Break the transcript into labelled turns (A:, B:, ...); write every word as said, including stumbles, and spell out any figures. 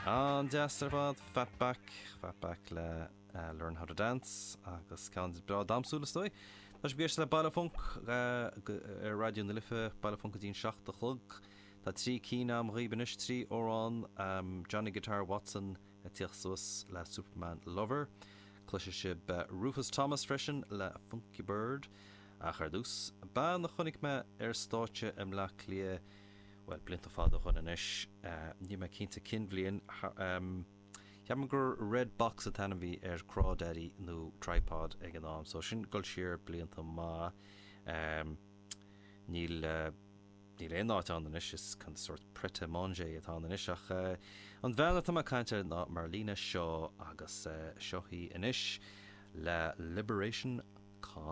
A: An-deas ar fad Fatback Fatback le uh, Learn How to Dance agus ceann breá damhsúil is dóigh. Tá sibh ag éisteacht le Baile Func uh, ar Raidió na Life Baile Func go dtí an seacht a chlog. Tá trí cinn agam dhaoibh anois trí amhrán um, Johnny Guitar Watson ag tíocht suas le Superman Lover. Cloisfidh sibh uh, Rufus Thomas freisin le Funky Bird ach ar dtús. Bean a chonaic mé ar stáitse i mBleá Cliath well blianta fada ó shin anois níl mé cinnte cén bhliain Ceapaim gur Red Box an t-ainm a bhí ar Crawdaddy nó Tripod ag an am, so sin dul siar blianta maith um, níl uh, níl aon áit ann anois is chun sort Pret a Manger atá anois ach uh, an bhean atá mé ag caint air ná Marlena Shaw agus uh, seo í anois le Liberation Con.